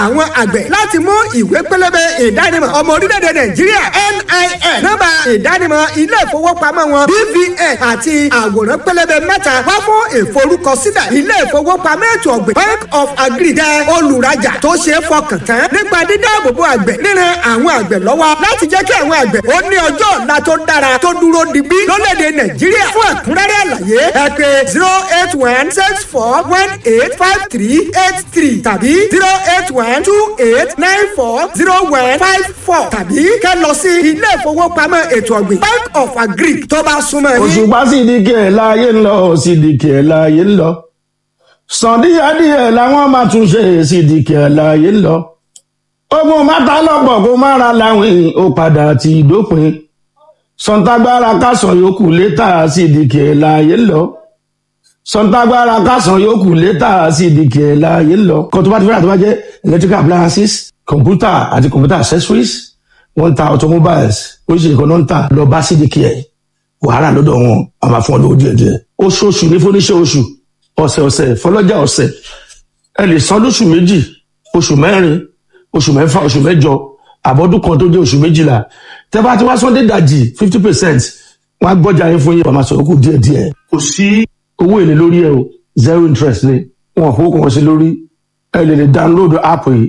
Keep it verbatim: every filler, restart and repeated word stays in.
Àwọn àgbẹ̀ láti mú ìwé pélébé ìdánimọ̀ ọmọ orílẹ̀-èdè Nàìjíríà N I N, nọ́mbà ìdánimọ̀ ilé ìfowópamọ́ wọn B V N àti àwòrán pélébé mẹ́ta wá fún ìforúkọsílẹ̀. Ilé ìfowópamọ́ ètò ọ̀gbìn Bank of Agri jẹ́ olùrajà tó ṣe é fọkàn tán nípa dídáàbòbò àgbẹ̀, ríran àwọn àgbẹ̀ lọ́wọ́ láti jẹ́ kí àwọn àgbẹ̀ ó ní ọjọ́ ọ̀la tó dára, tó dúró digbí lórílẹ̀‐èdè Nàìjíríà. Fún ẹ̀kúnrẹ́rẹ́ àlàyé, ẹ pè zero eight one six four one eight five three eight three tàbí zero eight one two eight nine four zero one five four tàbí kẹ́ lọ sí ilé ìfowópamọ́ ètò ọ̀gbìn Bank of Agri tó bá súnmọ́ yín. Òṣùpá Sídìkì ẹ̀ láàyè ń lọ, Sídìkì ẹ̀ láàyè ń lọ. Sàn díẹ̀díẹ̀ làwọn máa tún ṣe, Sídìkì ẹ̀ láàyè ń lọ. Ogun mátà lọ́pọ̀ kó má ra láwìn, ó padà ti dópin. Sọ̀ǹtàgbára kásán yòókù létà, Sídìkì ẹ̀ láàyè ń lọ. Sọ̀ǹtàgbára kásán yòókù létà, Sídìkì ẹ̀ láàyè ń lọ. Kan tó bá ti fẹ́ràn tó bá jẹ́ electrical appliances, computer àti computer accessories, wọ́n ń ta automobiles, oríṣiríṣi kan náà ń tà. Lọ bá Sídìkì ẹ̀, wàhálà lọ́dọ̀ wọn a máa fún ọ lówó díẹ̀ díẹ̀. Oṣooṣù ní fúnníṣẹ́ oṣù, ọ̀sẹ̀ ọ̀sẹ̀ fọlọ́jà ọ̀sẹ̀. Ẹ lè san lóṣù méjì, oṣù mẹ́rin, oṣù mẹ́fà, oṣù mẹ́jọ, àbọ̀dún kan tó jẹ́ oṣù méjìlá. Tẹ́ bá ti wá sọ́ndé dàjì fifty percent, wọ́n á gbọ́jà yín fún yín, wọ́n máa sọ̀rọ̀ kù díẹ̀ díẹ̀. Kò sí owó èlé lórí ẹ o, zero interest ni. Wọn kò kàn sí lórí. Ẹ lè lè download app yìí.